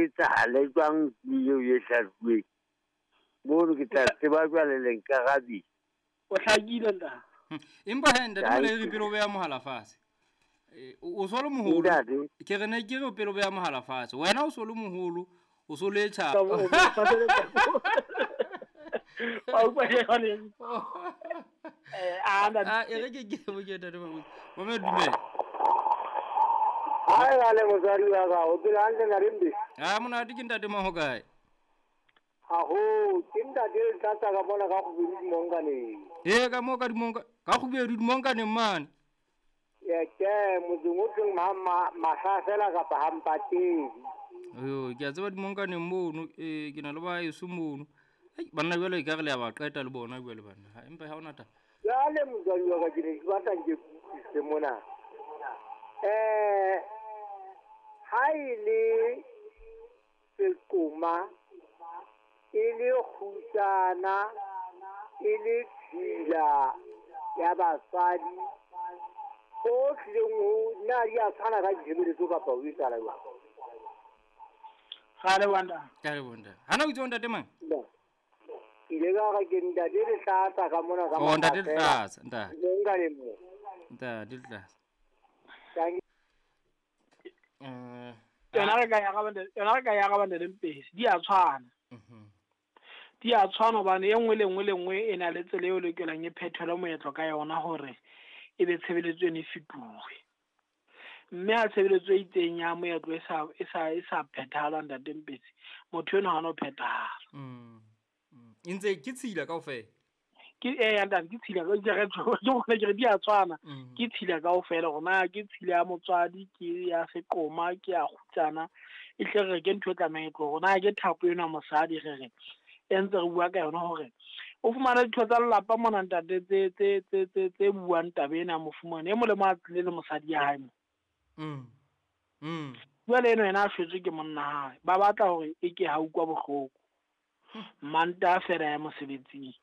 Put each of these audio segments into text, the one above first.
etsahale jwang eo e hlahluweng mono ke tla tseba jwale le nkarabile. O hlakile ntate. Empa he ntate Moleiri pele o beha mohala fatshe. O so le moholo. Ke re ne ke re pele o beha mohala fatshe. Wena o so le moholo, o so le tjha. E re ke ke bo ke ntate Mabuse. Mame dumela. Hai ale motswadi wa ka, o phela hantle ntate Mbe? Ha monate ke ntate Maho kae? Aho, ke ntate Letlatsa ka mona ka Kgubedu Dimonkaneng. Ee, ka moo ka Dimonka, ka Kgubedu Dimonkaneng mane. Ye ke motseng o tleng mahlasela kapa hampatedi. Yo, ke a tseba Dimonkaneng mono, ke na le ba heso mono. Ai, banna jwale e ka re le a ba qeta le bona jwale banna. Ha empa ha ona taba. Jwale motswadi wa ka ke ne ke batla nke ke utlwisise mona. Ha e le seqoma, e le kgutsana, e le tshila ya basadi, ho tlileng ho na di a tshwana ka ditshebeletso kapa ho etsahala jwang? Ga le bontate. Ga le bontate. Ha na o itse ntate mang? Ke ile ka re ke ntate Letlatsa ka mona ka Oh, ntate Letlatsa, ntate. Nka le mo. Ntate Letlatsa. Yona re ka ya ga bana le Mpesi, di a tshwana. Di a tshwana hobane e nngwe le nngwe le nngwe e na le tsela eo lokelang e phethelwe moetlo ka yona hore e be tshebeletso eno e fetohe. Mme ha tshebeletso e itseng ya moetlo e sa phethahala ntate Mpesi, motho eno ha no phethahala. E ntse ke tshila kaofela. Ke ntate ke tshila ke re ke re di a tshwana. Ke tshila kaofela hore na ke tshila ya motswadi, ke ya seqoma, ke ya kgutsana. E hle re ke ntho e tlamehang e tlohe hore na ke thapo eno ya mosadi re re e ntse re bua ka yona hore o fumana ditho tsa lelapa mona ntate tse buang taba ena ya mofumane e molemo a tlile le mosadi ya hae mo. Jwale eno yena a shwetswe ke monna hae, ba batla hore e ke ha utlwa bohloko. Manta fela ya mosebetsing.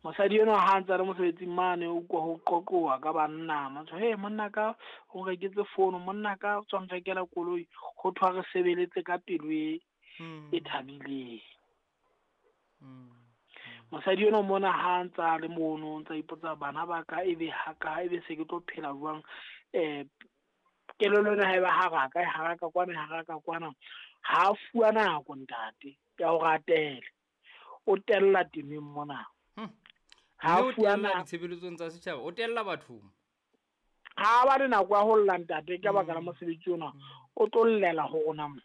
Mosadi eno ha ntse a le mosebetsing mane o utlwa ho qoqoa ka banna, motho he monna ka o reketse fono, monna ka o tswa nrekela koloi, ho thwa re sebeletse ka pelo e thabileng. Mosadi eno mona ha ntse a le mono, ntse a ipotsa bana ba ka ebe ha ka ebe se ke tlo phela jwang, kelello ena ha e ba haraka, e haraka kwana, e haraka kwana, ha fuwa nako ntate ya hore a tele. O tella temeng mona. Ha o tella ditshebeletsong tsa setjhaba, o tella bathong. Ha ba le nako ya ho lla ntate ka baka la mosebetsi ona, o tlo llela ho rona mo.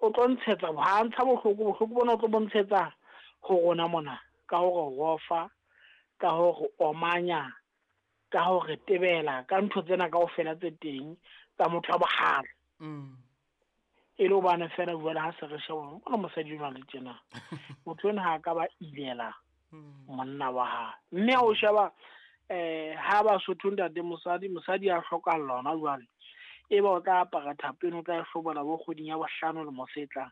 O tlo ntshetsa, ha ntsha bohloko, bohloko bona o tlo bontshetsa ho rona mona ka hore rofa, ka hore omanya, ka hore tebela, ka ntho tsena kaofela tse teng tsa motho wa bohale. E le hobane fela jwale ha se re sheba bona mosadi enwa le tjena, motho enwa ha ka ba ilela monna wa hae. Mme ha o sheba ha Basotho ntate mosadi a hlokahalla hona jwale, e ba o tla apara thapo eno, o tla hlobola bo kgweding ya bohlano le mosetla.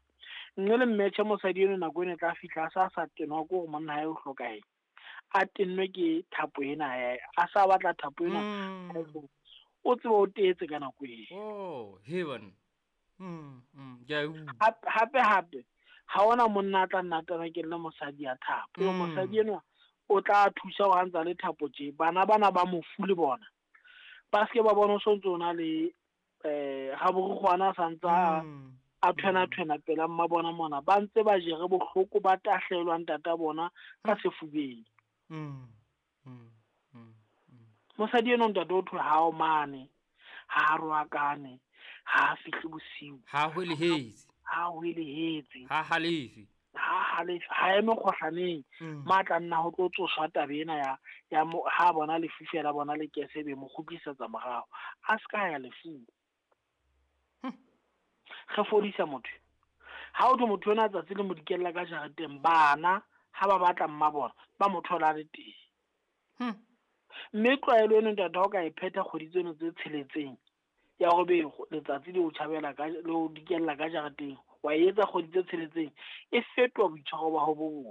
Nne le mmetjhe mosadi eno nako eno e tla fihla a sa tenwa ke hore monna hae o hlokahetse, a tennwe ke thapo ena, a sa batla thapo ena, o tsebe o teetse ka nako eo. Oh, heaven. Hape ha ona monna a tla nna tana ke le mosadi ya thapo. Mosadi enwa o tla thusa ho ntsa le thapo tje, bana bana ba mofu le bona ba se ba bona o sontso ona le ha borukgwana sa ntsa a thwena pela mma bona mona, ba ntse ba jere bohloko ba tahlelwa ntata bona ka sefubeng. Mosadi eno ntate o thwe ha o mane, ha roakane, ha fihle bosiu, ha hwelehetse, ha halefi, ha eme kgohlaneng, matla nna ho tlo tsoswa taba ena ya ha bona lefu fela bona le kese be mo kgutlisetsa morao, a ska ya lefung. Re fodisa motho. Ha o thwe motho ena tsatsi le mo dikella ka jareteng, bana ha ba batla mma bona ba mo thola le teng. Mme tlwaelo eno ntate ha o ka e phetha kgwedi tseno tse tsheletseng ya hore be letsatsi le o tjhabela ka le o dikella ka jareteng, wa etsa kgwedi tse tsheletseng, e fetoha boitshwaro ba hao bo bobe.